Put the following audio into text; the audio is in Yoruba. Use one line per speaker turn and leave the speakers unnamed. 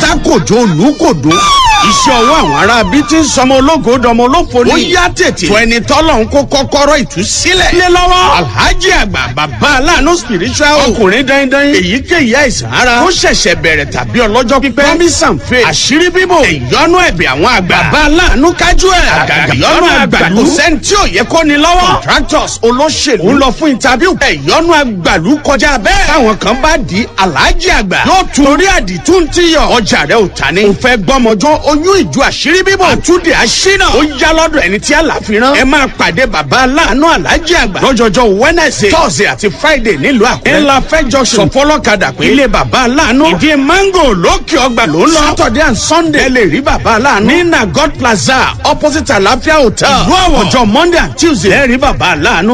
Pátákòjó olùkòdó. Iṣẹ́ ọwọ́ àwọn ará bíi ti ń sọmọ ológo dọmọ olófo ni. Ó yá tètè. Fún ẹni tọ́lọ̀ ń kó kọ́kọ́rọ́ ìtúsílẹ̀. Lé lọ́wọ́. Alhaji Àgbà Bàbá Aláàánú Spiritual. Ọkùnrin dandan. Èyíkéyìí àìsàn ara. Ó ṣẹ̀ṣẹ̀ bẹ̀rẹ̀ tàbí ọlọ́jọ́ pípẹ́. Promise and faith. Àṣírí bíbò. Ìyọnu ẹ̀bẹ̀ àwọn àgbà. Bàbá Aláàánú kájú ẹ̀. Àgàgà ìyọnu àgbàlú. Kò sẹ́ni tí ò yẹ kó ni lọ́wọ́. Contractors, olóṣèlú. Ń lọ fún interview. Ìyọnu àgbàlú kọjá bẹ́ẹ̀. Táwọn kan bá di Alhaji Àgbà. Yóò tún torí àdìtú ń tíyọ̀. Ọjà rẹ̀ ò ta ni. Ò fẹ́ gbọ́mọjọ́ oyún ìjọ àṣírí bíbò. Àtúndì àṣínà. Ó yá lọ́dọ̀ ẹni tí àlàfi rán. Ẹ máa pàdé Bàbá Aláàánú Alhaji Àgbà. Lọ́jọ́jọ́ Wednesday, Thursday àti Friday nílùú Àkúrẹ́. Ńlá fẹ́ junction. Sọfọlọ́kadà pé ilé Bàbá Aláàánú. Ìdí mango lókè ọgbà ló ń lọ. Saturday and Sunday. Ẹ lè rí Bàbá Aláàánú. Ní Na God Plaza, opposite Àlàáfíà Hotel. Ìlú Àwọ̀. Ọjọ́ Monday and Tuesday. Ẹ rí Bàbá Aláàánú.